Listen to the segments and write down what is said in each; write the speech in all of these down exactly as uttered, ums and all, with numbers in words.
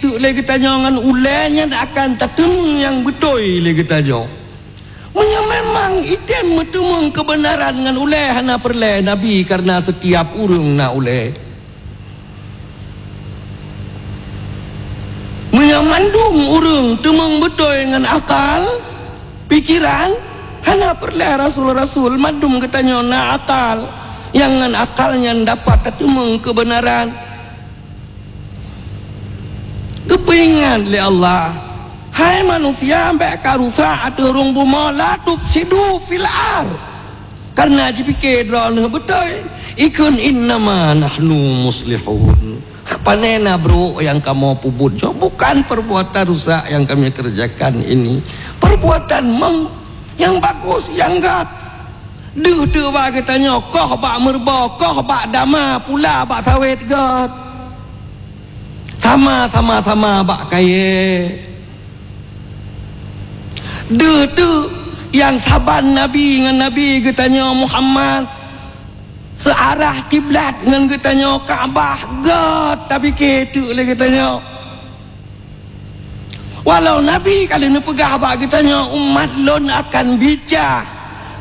teuk lé geutanyoe ngon ulée nyan akan tateumeung nyang beutôi lé geutanyoe. Meunyoe memang item meuteumeung keubeunaran ngon ulée, hana peureulée Nabi, kareuna setiap ureuëng na ulée. Meunyoe mandum ureuëng teumeung beutôi ngon akal, pikiran, hana peureulée rasul-rasul, mandum geutanyoe na akal, nyang ngon akal nyan dapat tateumeung keubeunaran. Geupeuingat lé Allah, "Hai manusia, bék karusak ateueh rhueng bumoe, la tufsidu fil ard." Kareuna jipike droeneueh beutôi, ikheun, "Innama nahnu muslihun." Pane na brok nyang kamoe peubuet nyoe, bukan perbuatan rusak yang kami kerjakan ini. Perbuatan mem-, yang bagus, yang gat. Deuh teuk bak geutanyoe, koh bak meureubo, koh bak dama, pula bak sawét gat. Sama, sama-sama bak kayée. Deuh teuk nyang saban Nabi ngon Nabi geutanyoe Muhammad, seuarah kiblat ngon geutanyoe Ka'bah, gat tapike teuk lé geutanyoe. Walau Nabi ka lheueh neupeugah bak geutanyoe, "Umat lôn akan bicah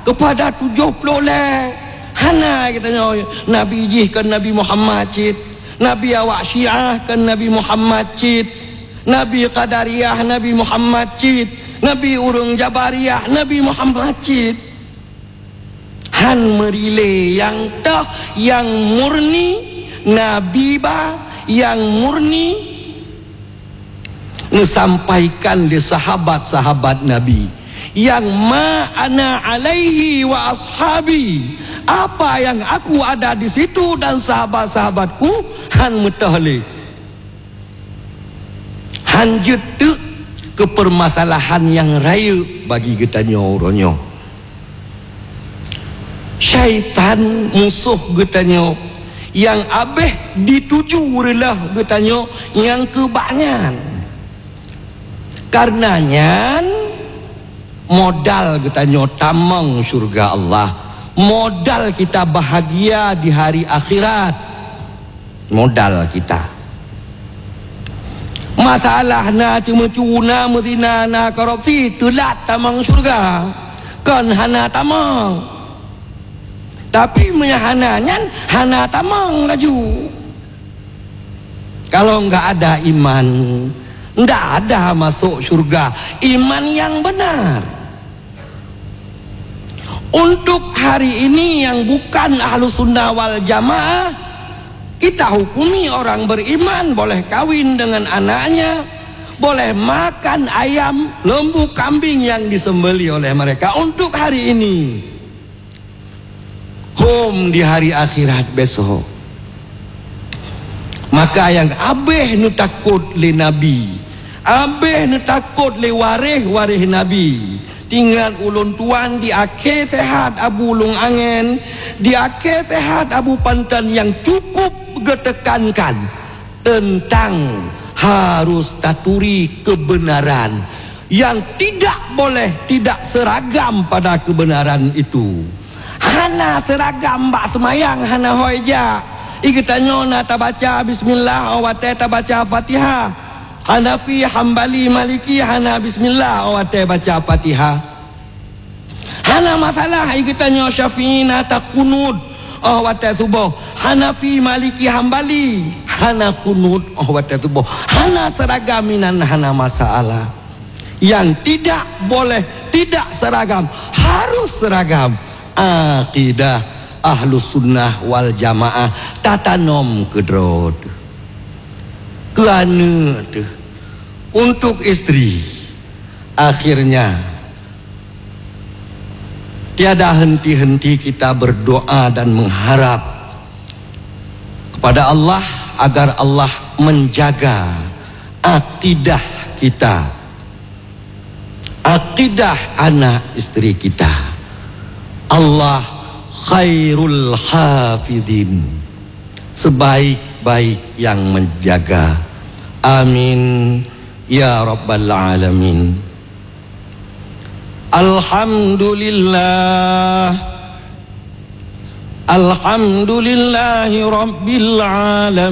keupada tujoh ploh lhée." Hana geutanyoe Nabi jih kon Nabi Muhammad cit. Nabi awak Syiah kon Nabi Muhammad cit. Nabi Qadariyah Nabi Muhammad cit. Nabi ureuëng Jabariyah Nabi Muhammad cit. Han meurilée nyang toh, nyang murni, Nabi ba nyang murni neusampaikan lé sahabat-sahabat Nabi, nyang ma ana alaihi wa ashabi, apa yang aku ada di situ dan sahabat-sahabatku, han meutoh lé. Han jeuet teuk keu peumasalahan nyang rayeuk bagi geutanyoe uroe nyoe. Syaitan, musoh geutanyoe, nyang abéh dituju reuloh geutanyoe nyang keu bak nyan. Kareuna nyan, modal geutanyoe tamong syeuruga Allah, modal kita bahagia di hari akhirat. Modal kita. Masalah na ceumeucue, na meuzina, na korupsi, teulat tamong syeuruga. Kon hana tamong. Tapi meunyo hana nyan, hana tamong laju. Kalau enggak ada iman, ndak ada masuk syurga. Iman yang benar. Untuk hari ini yang bukan ahlu sunnah wal jamaah, kita hukumi orang beriman boleh kawin dengan anaknya, boleh makan ayam, lembu, kambing yang disembelih oleh mereka untuk hari ini. Hom di hari akhirat besok. Maka nyang abéh neutakot lé Nabi, abéh neutakot lé waréh-waréh Nabi. Ingat ulôn tuan di akhé sehat Abu Lung Angén, di akhé sehat Abu Panton nyang cukup geutekankan teuntang harus taturi keubeunaran nyang tidak boleh tidak seuragam pada keubeunaran itu. Hana seuragam bak seumayang, hana hôi jak. I geutanyoe na tabaca bismillah óh watée tabaca Fatihah. Hanafi, Hambali, Maliki hana bismillah óh watée baca Fatihah. Hana masalah, i geutanyoe Syafi'i na takunut óh watée suboh. Hanafi, Maliki, Hambali hana kunut óh watée suboh. Hana seuragam inan hana masalah. Yang tidak boleh tidak seragam, harus seragam. Akidah Ahlus Sunnah wal Jamaah tatanom keudroe teuh. Keu aneuëk teuh, untuk istri. Akhirnya, tiada henti-henti kita berdoa dan mengharap kepada Allah agar Allah menjaga akidah kita, akidah anak istri kita. Allah khairul hafidhin, sebaik-baik yang menjaga. Amin ya rabbal alamin. Alhamdulillah. Alhamdulillahi rabbil alamin.